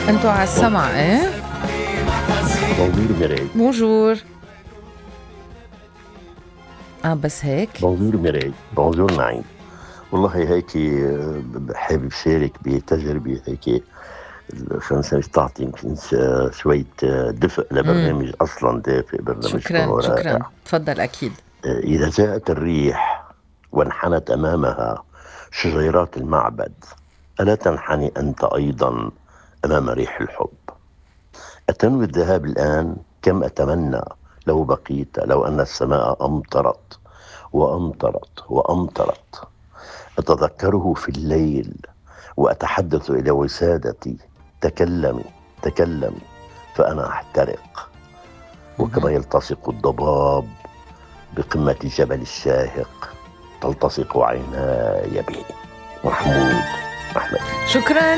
انتو على السمع ايه؟ بونجور ميراي. بونجور. بس هيك؟ بونجور ميراي. بونجور نعيم. والله هيك حابب شارك بتجربة هيك شو نسمي تعطي يمكن شوية دفء لبرنامج أصلا دافئ. برنامجكم شكرا شكرا، رائع. تفضل أكيد. إذا جاءت الريح وانحنت أمامها شجيرات المعبد، ألا تنحني أنت أيضا أمام ريح الحب؟ أتنوي الذهاب الآن؟ كم أتمنى لو بقيت، لو أن السماء أمطرت وأمطرت وأمطرت. أتذكره في الليل وأتحدث إلى وسادتي: تكلمي تكلمي فأنا أحترق. وكما يلتصق الضباب بقمة جبل الشاهق تلتصق عيناي به. محمود أحمد. شكرا.